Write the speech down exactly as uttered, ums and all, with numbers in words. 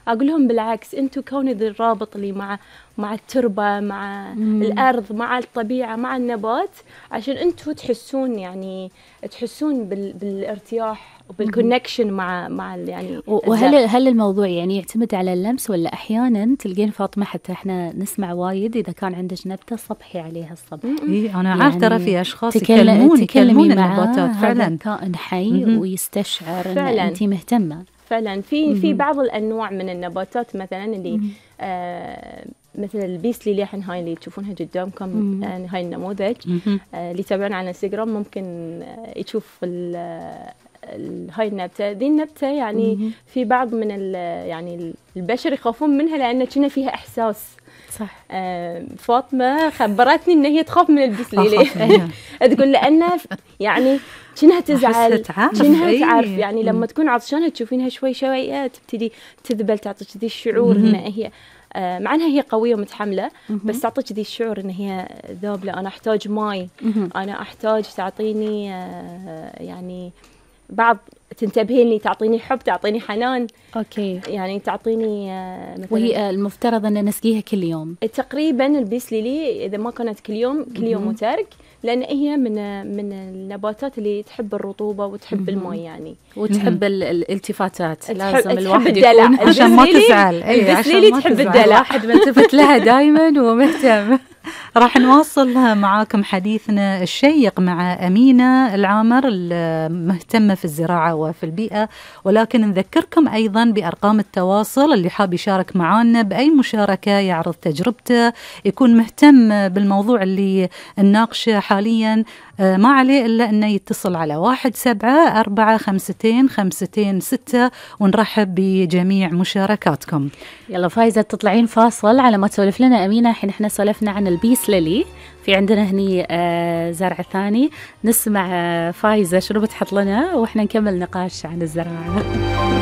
أقول لهم بالعكس، أنتوا كون ذي الرابط اللي مع مع التربة، مع مم. الأرض، مع الطبيعة، مع النبات، عشان أنتوا تحسون يعني تحسون بال بالارتياح وبالكونكشن مع مع يعني. وهل هل الموضوع يعني يعتمد على اللمس، ولا أحيانا تلقين فاطمة حتى إحنا نسمع وايد إذا كان عندك نبتة صبحي عليها الصبح؟ إيه أنا عارفة ترى في أشخاص تكلم يكلمون يكلمون النباتات فعلا، كائن حي ويستشعر إن أنتي مهتمة. فعلا في في بعض الأنواع من النباتات مثلا اللي آه مثل البيس ليلي، الحين هاي اللي تشوفونها قدامكم، يعني هاي النموذج آه اللي يتابعون على انستغرام ممكن آه يشوف ال هاي النبتة. ذي النبتة يعني مم. في بعض من يعني البشر يخافون منها لأن كنا فيها إحساس. صح. آه فاطمة خبرتني إن هي تخاف من البيس ليلي. تقول لأن يعني كأنها تزعل، كأنها تعرف يعني لما تكون عطشانة تشوفينها شوي شوي تبتدي تذبل، تعطيك ذي الشعور إن هي آه مع أنها هي قوية ومتحملة، بس تعطيك ذي الشعور إن هي ذابلة. أنا أحتاج ماي، أنا أحتاج تعطيني آه يعني بعض، تنتبهين لي، تعطيني حب، تعطيني حنان. أوكي. يعني تعطيني آه مثلا. وهي المفترض أن نسقيها كل يوم تقريبا. البيس ليلي إذا ما كانت كل يوم، كل يوم وترك، لأن هي من من النباتات اللي تحب الرطوبة وتحب الماء يعني، وتحب الالتفاتات. لازم تحب الواحد الدلع يكون عشان ما تزعل. أي عشان ما تحب الدلع. الواحد ملتفت لها دائما ومهتم. راح نواصل معاكم حديثنا الشيق مع أمينة العامر المهتمة في الزراعة وفي البيئة، ولكن نذكركم أيضا بأرقام التواصل اللي حاب يشارك معنا بأي مشاركة، يعرض تجربته، يكون مهتم بالموضوع اللي نناقشه حاليا، ما عليه إلا أنه يتصل على واحد سبعة أربعة خمستين خمستين ستة، ونرحب بجميع مشاركاتكم. يلا فايزة تطلعين فاصل على ما تسولف لنا أمينة. الحين احنا سولفنا عن البيس ليلي، في عندنا هني آه زرع ثاني، نسمع آه فايزة شنو بتحط لنا وإحنا نكمل نقاش عن الزراعة.